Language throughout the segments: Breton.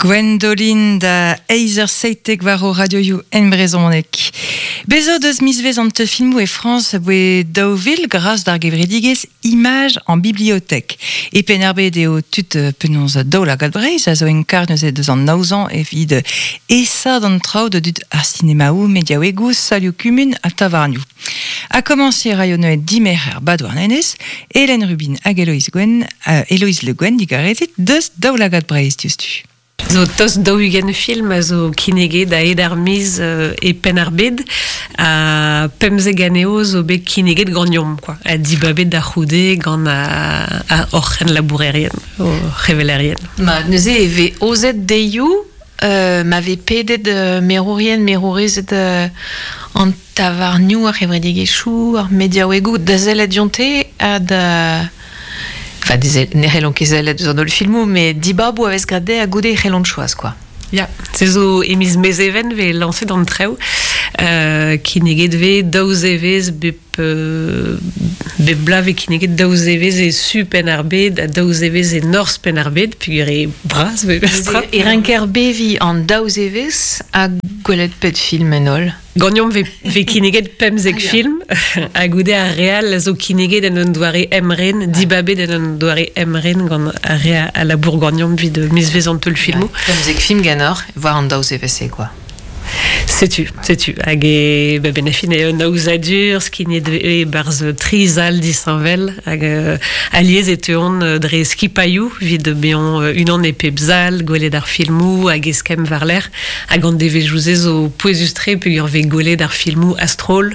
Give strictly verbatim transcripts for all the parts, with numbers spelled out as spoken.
Gwendoline da eizh eur seitek war o radioioù en brezhoneg. Bezo deus mizvez an teulfilmoù e Frañs voe daou vil gras d'ar gevredigezh Image en bibliothèque. E Penn-ar-Bed eo tud penaos Daoulagad Breizh a zo en karg neuze deus an aozañ evit esaat an traoù da dud ar sinemaoù, mediaouegoù, salioù kumun ha tavarnioù. Ha komañsiñ a raio neuze dimerc'her ba Douarnenez, Hélène Rubin hag Héloïse Gwen, euh, Héloïse Le Guen digarezit deus Daoulagad Breizh diouzhtu. Zo tost daou-ugent film a zo kinneget a-hed ar miz euh, e Penn-ar-Bed ha pemzek anezho zo bet kinneget ganeomp quoi. Ha dibabet da c'houde gant a, a hor c'henlabourerien, o c'hevelerien. Ma, neuze e vez aozet deioù, euh, ma vez pedet euh, merourien, merourezed euh, an tavarnioù ar c'hevredigezhioù, ar mediaouegoù da sellet dionte ha da... Enfin, deze, ne c'hellont ket sellet eus an holl filmoù, met dibaboù a vez graet dezhe ha goude e c'hellont choaz, quoi. Ya, se zo e miz Mezheven vez lañset an traoù, euh, kinneget vez daou zevezh bep, euh, bep bloaz vez kinneget daou zevezh e su Penn-ar-Bed ha daou zevezh e norzh Penn-ar-Bed, peogwir eo bras vez mestra. E ranker beviñ an daou zevezh ha gwelet pet film en holl. Ganeomp vez, vez kinneget pemzek Ah, ya. film, ha goude ar re all a zo kinneget en un doare emren, dibabet en un doare emren gant ar re a, a labour ganeomp evit mizvezh an teulfilmoù. Ouais. Pemzek film ganeoc'h, war an daou zevezh-se, quoi. Setu, setu. Hag e, ba, ben a fin eo un aozadur, skignet e barzh tri zal disheñvel, hag euh, alies e teuont euh, dre skipailhoù evit bezañ euh, unan e pep zal, gwelet ar filmoù hag eskemm war-lerc'h, hag an devezhioù-se zo pouezus-tre peogwir vez gwelet ar filmoù a-stroll,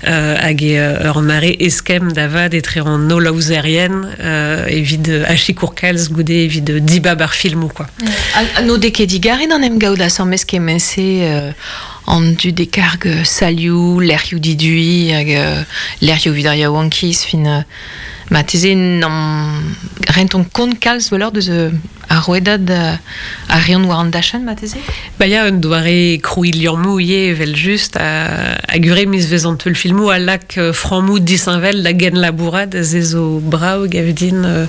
euh, hag e euh, ur mare eskemm da vat etre an holl aozerien, euh, evit euh, achicour kalz goude evit euh, dibab ar filmoù, quoi. Ha n'o dez ket digarez d'en em gaout asambles kement-se euh, an dud e karg salioù, lec'hioù diduiñ hag euh, lec'hioù evit ar yaouankiz, fin euh, ma teze n'am rentont kont kalz gwelloc'h deus euh, ar rouedad euh, ar reont war an dachenn ma teze? Ba ya, un doare krouiñ liammoù ivez evel just a, a gure mizvezh an teulfilmoù a lak euh, frammoù disheñvel da genlabourat se zo brav gav din euh,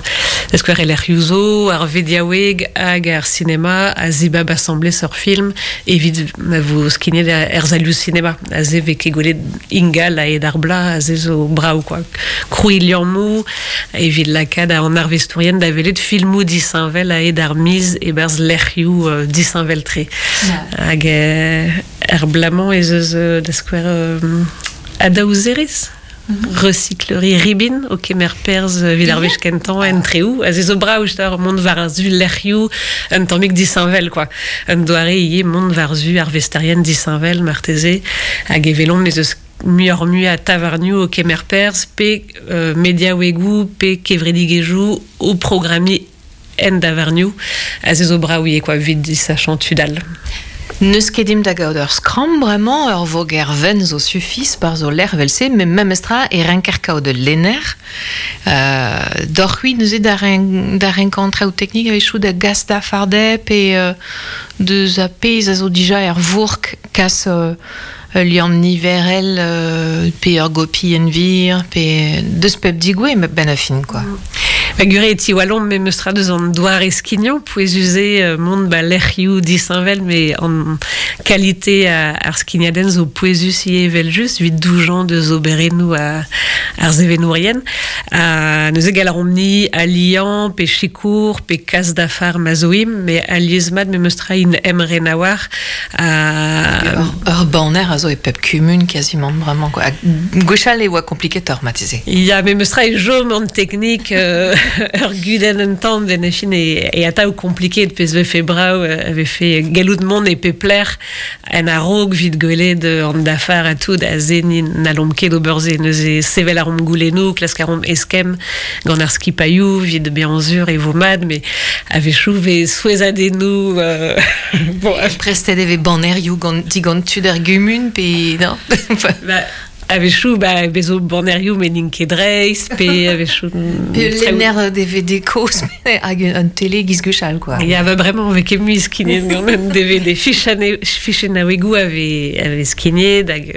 da skouer e lec'hioù zo, ar vediaoueg hag ar sinema a zibab asambles ur film evit ma vo skignet er salioù sinema a se vez ket gwelet ingal a-hed ar bloaz a se zo brav quoi. Krouiñ liammoù evit lakaat an arvestourien da welet filmoù disheñvel a-hed ar miz e-barzh lec'hioù euh, disheñvel-tre. Hag euh, er bloaz-mañ ez eus euh, da skouer euh, adaozerez recyclerie Ribin o kemer perzh evit ar wech kentañ en treoù. A se zo brav ur mont war-zu lec'hioù un tammig disheñvel, quoi. Un doare ivez mont war-zu ar vesterien disheñvel marteze hag e welomp ez eus muioc'h mui a tavarnioù o kemer perzh pe euh, mediaouegoù pe kevredigezhioù o programmiñ en davarnioù a se zo brav ivez, quoi, evit disachañ tud all. N'eus ket dimp da gaout ur skramm bremañ, ur voger wenn zo sufis bar zo lec'h evel-se, met memestra e ranker kaout ul lenner. Euh, doc'h c'hwi neuze da ren, da renkañ an traoù teknik a-wechoù da gas da farde pe euh, deus a pezh a zo dija er vourk kas euh, ul liamm niverel euh, pe ur gopi en vir, pe deus pep digouez, met ben a fin, quoi. Ba gure e tiwallomp memestra deus an doare skignañ, pouezus eo mont ba lec'hioù disheñvel, met an kalite a, ar skignadenn zo pouezus ivez evel-just, evit doujañ deus oberennoù a, ar sevenourien. Ha neuze gall a reomp-ni aliañ, pe sikour, pe kas dafar ma zo-imp, met alies mat memestra int emren a-walc'h. Ha Ur, ur banner a zo e pep kumun quasiment vraiment quoi. Ha gwechall e oa kompliketoc'h marteze. Ya, memestra e chom an teknik euh, ur gudenn un tamm ben a fin e, e atav kompliket pezh vefe brav euh, vefe gallout mont e pep lec'h en a-raok evit gwelet euh, an dafar ha tout a se ni n'hallomp ket ober se neuze sevel a reomp goulennoù, klask a reomp eskemm gant ar skipailhoù evit bezañ sur e vo mat, met a-wechoù vez souezhadennoù euh, bon, Prestet e vez bannerioù gant digant tud ar gumun pe non? Ba, A-wechoù, ba, bezo bannerioù met n'int ket dreist, pe a-wechoù... Pe lenner D V D kozh, hag un tele giz gwechall, quoi. Ya, ba bremañ, vez ket mui skignet gant un D V D. Fichennaouegoù a vez, a vez skignet, hag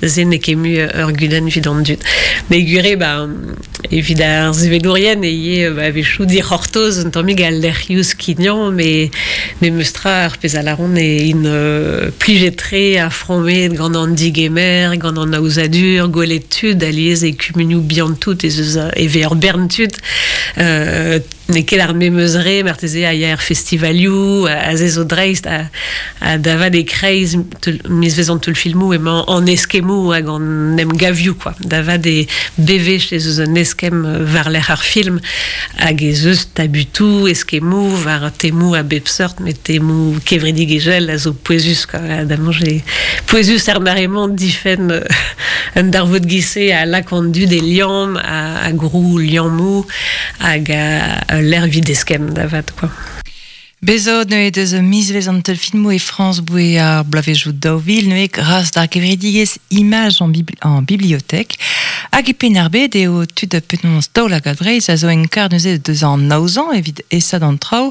ze n'eo ket mui ur gudenn evit an dud. Mais gure, ba, evit ar sevedourien, e ivez, ba, a-wechoù dic'hortoz un tammig al lec'hioù skignañ, mais, mais meustra ar pezh a laron e in euh, plijet-tre a frammet gant an digemer, gant an aozadur, gwelet tud, aliez e kumunioù bihan tout, ez eus e vez ur bern tud, euh, n'eo ket ar memeus re, marteze a ya er festivalioù, a ze zo dreist, a, a davad e kreiz miz vez an teulfilmoù emañ an eskemoù hag an emgavioù, quoi. Davad e bevech ez eus un eskem war lec'h ar film, hag ez eus tabutoù, eskemoù, war temoù a bep seurt, met temoù kevredigezhel a zo pouezus, quoi. Da mañje pouezus ar mare-mañ difenn un darvoud gise a lak an dud e liamm, a, a grou liammoù, hag a, a l'air vid eskem davat, quoi. Bezo neuze deus mizvez an teulfilmoù e Frañs boe ar bloavezhioù daou vil neuze gras d'ar gevredigezh Image en, bibli en bibliothèque hag e Penn-ar-Bed eo tud penaos Daoulagad Breizh a zo en kar neuze deus an aozañ evit esad an traoù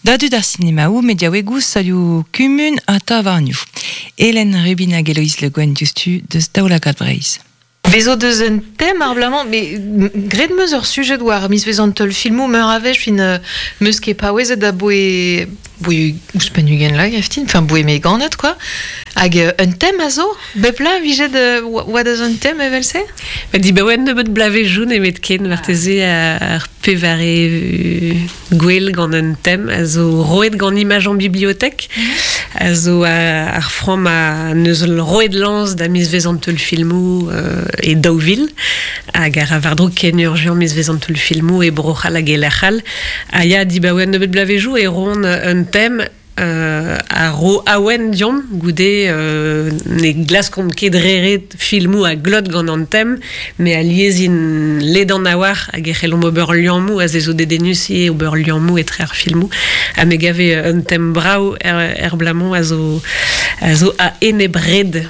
da dud ar sinemaoù mediaouegoù salioù kumun ha tavarnioù. Hélène Rubin hag Héloïse Le Guen diouzhtu deus Daoulagad Breizh. Bezo deus un tem ar blamañ, mais gret meus ur sujet war mizvez an teulfilmoù meur a wech fin meus ket paouezet da boe boe ouzhpenn ugent la gaftin, enfin boe me ganet, quoi. Hag un tem a zo, bep la vijet oa deus un tem evel-se? Ba di ba oa nebeut blavezhioù nemet ken marteze ar pevare gwell gant un tem a zo roet gant Image en bibliothèque, a zo ar framm a neus roet lañs da mizvez an teulfilmoù e daou vil, hag ar war-dro ken urgent mizvez an teulfilmoù e Bro-C'hall hag e lec'hall. A ya di ba oa nebeut blavezhioù e roont un tem Euh, a ro awen diomp goude euh, ne glaskomp ket reret filmoù a glot gant an tem, mais a liezin ledan a war hag e c'hellomp ober liammoù a ze zo dedennus ivez ober liammoù etre ar filmoù ha me gave un tem brav er, er blamañ a zo, a zo a enebred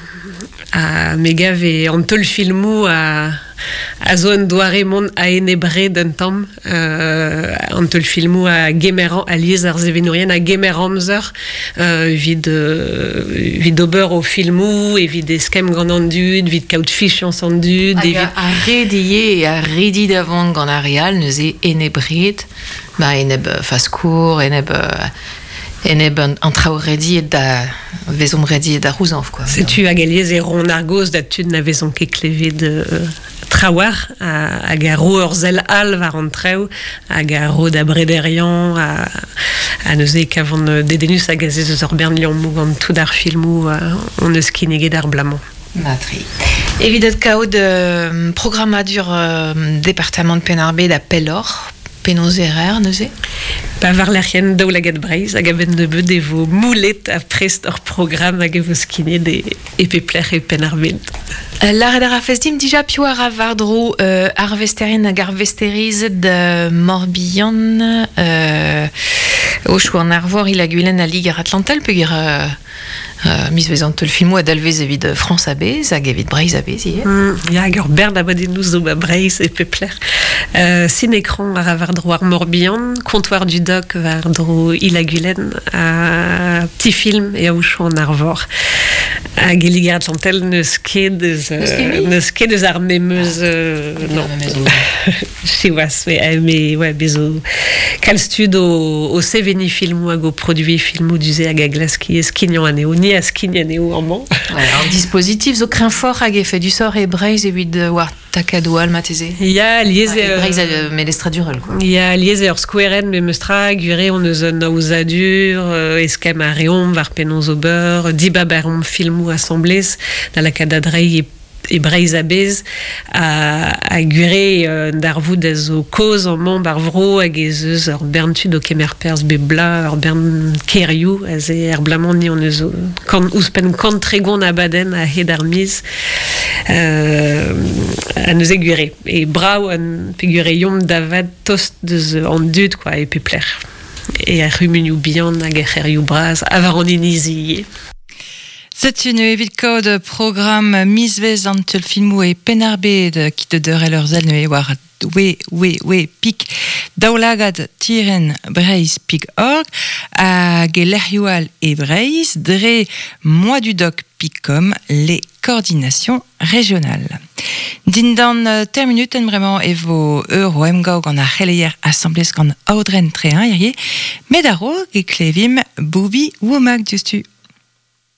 a me gave an teulfilmoù a a zo un doare mont a enebred un tamm euh, an teulfilmoù a gemer a liez ar sevenourien a gemer amzer euh, evit, euh, evit ober o filmoù, evit eskemm gant an dud, evit kaout fichañs an dud. Hag evit... a redier a redi davant gant ar real neuze enebred, ba eneb faskour, eneb... Eneb an, an traoù rediet da vezomp rediet da rouzañv, quoi. Setu hag aliez e ron ar goz da tud na vezomp ket klevet euh, trawar hag a ro ur sell all war an traoù hag a ro da brederian a, a neuze kavont dedennus hag a ze eus ur bern liammoù gant tout ar filmoù on eus kinniget ar blamañ. Matri. Evit ad kaout euh, programmadur euh, département de Penn-ar-Bed a pelloc'h, penaos erer neuze? Pa war lec'hienn Daoulagad Breizh hag a-benn nebeut e vo moulet ha prest ur programm hag e vo skignet e, e pep lec'h e Penn-ar-Bed. Lâret a rafez dimp dija piv ar war-dro euh, arvesterien hag arvesterized euh, Morbihan euh, o chou an Arvor il a gwilen a Liger Atlantel peogwir euh, euh, mizvez an teulfilmoù a dalvez evit Frañs a-bezh hag evit Breizh a-bezh ivez. Mm, ya hag ur bern abadennoù zo ba Breizh e pep lec'h. Euh, Cinécran ar war-dro ar Morbihan, Comptoir du Doc war-dro Il-ha-Gwilen, a petit film e aochou an Arvor. Hag e Liger Atlantel n'eus ket eus, n'eus ket eus ar memeus... Euh, non. Siwazh, mais, mais ouais, bezo kalz tud o, o seveniñ filmoù hag o produiñ filmoù du-se hag a glask skignañ anezho, ni a skign anezho amañ. Ouais, an dispositif zo kreñvoc'h hag efedusoc'h e Breizh evit war takadoù all marteze. Ya, liez e Breizh euh, melestradurel, quoi. Ya, liez ur skouerenn me meustra gure on eus un aozadur, eskemm a reomp war penaos ober, dibab a reomp filmoù asamblez, da lakaat da dreiñ e e Breizh a-bezh a, a gure euh, darvoud a zo kozh amañ bar vro hag ez eus ur bern tud o kemer perzh bep bloaz, ur bern kêrioù a ze er blamañ ni on eus kant, ouzhpenn kant tregont abadenn a-hed ar miz euh, a neuze gure. E brav an pegure yomp davad tost deus an dud, quoi, e pep lec'h. E ar c'humunioù bihan hag ar c'hêrioù bras a war an inizi ivez. Setu ne evit kaout programm mizvez an teul filmou e Penarbed ki de deurel ur zel ne war we we we pik daoulagad tiren Breizh pik org hag e lec'hioù all e Breizh dre moa du doc pik com les coordinations régionales. Dindan ter minuten bremañ e vo eur o emgav gant ar c'heleier asambles gant aodren trein hirie, met a-raok e klevim Booby Womack diouzhtu.